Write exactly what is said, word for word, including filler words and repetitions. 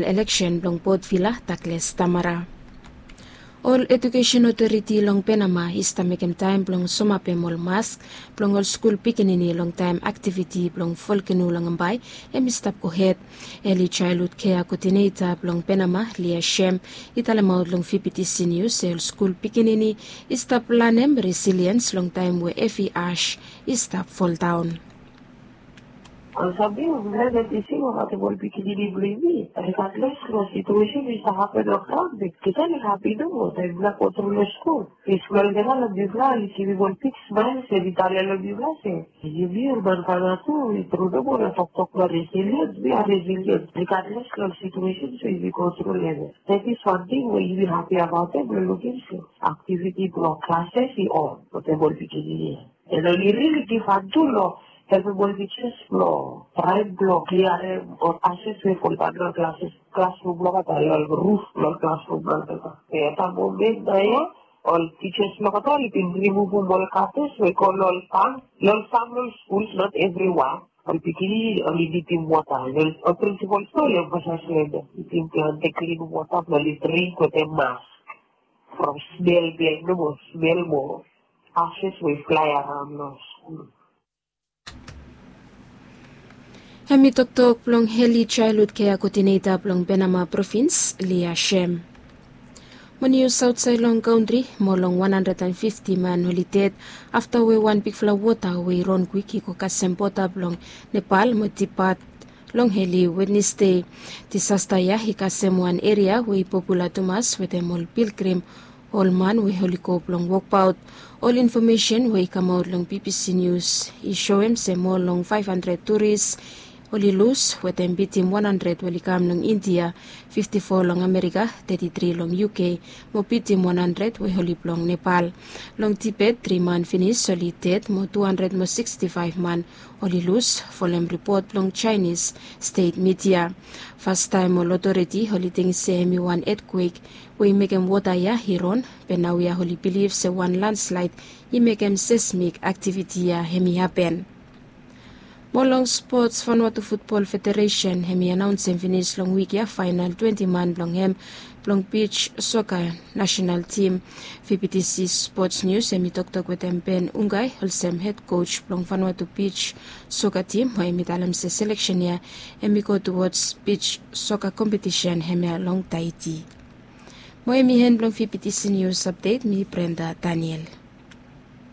eleksen blong Port Vila, Douglas Tamara. Ol ejukesen otoriti long Penama i stap mekem taem blong somapem ol mask blong ol skul pikinini long taem aktiviti blong volkeno long Ambae hem i stap gohed. Eli Chaelhud Kea Koodineta blong Penama, Lia Shem, i talemaot long V B T C Nius se ol skul pikinini i stap lanem resiliens long taem we hevi as i stap foldaon. Ol samting we mifala i save tesim abaot ol pikinini blong yumi, regardless long situesen we i stap hapen long graon, be mifala i hapi nomo taem mifala go tru long skul. Be skul olgeta long mifala oli givim ol big smael, se oli talem long mifala se yumi ol man Vanuatu i tru nomo long toktok blong resiliens, we are resilient regardless long situesen we yumi go tru long hem. That is wan ting we yumi hapi abaot hem blong lukim se aktiviti blong klases i on wetem ol pikinini ya. An oli rili givhan tu long helpem ol tijas blong traem blong kliarem ol klases we foldaon long klases, klasrum blong olgeta, long ruf blong klasrum blong olgeta. Be at that moment naoia ol tijas blong olgeta oli bin rimuvum ol katas we i go long ol fam, long ol fam, long ol skul, not everyone. Ol pikinini oli nidim wota, ol prinsipol tu oli emfasais long hem, nidim blong olgeta klim wota blong oli dring wetem mask from smel blong hem nomo, smel mo ases we i flae araon long skul. Hem i toktok blong Eli Chaelhud Kea Koodineta blong Penama Provins, Lia Shem. Mo nius aotsaed long kantri, moa long wan handred an fifti man oli ded afta we wan bigfala wota we i ron kwik i go kasem boda blong Nepal mo Tibet long Eli Wednesde. Disasta ya i kasem wan eria we i popula tumas wetem ol pilgrim, ol man we oli go blong wokbaot. Ol infomesen we i kamaot long B B C Nius i soem se moa long faef handred turis oli lus, wetem bitim wan handred we oli kam long India, fifti fo long Amerika, teti tri long U K, mo bitim wan handred we oli blong Nepal. Long Tibet, tri man finis oli ded mo tu handred mo siksti faef man oli lus, folem ripot blong Jaenis stet midia. Fastaem ol otoriti oli ting se hem i wan etkwek we i mekem wota ya i ron, be naoia oli bilif se wan landslaed i mekem seismik aktiviti ya hem i hapen. Mo long spots, Vanuatu Futbol Federesen hem i anaonsem finis long wik ya faenal twenti man blong hem blong bij soka nasenal tim. V B T C Spots Nius hem i toktok wetem Ben Ungai, olsem hed koj blong Vanuatu bij soka tim, mo hem i talem se seleksen ya hem i go tuwods bij soka kompetisen hemia long Taiti. Mo hem i en blong V B T C Nius Apdet, mi Brenda Daniel.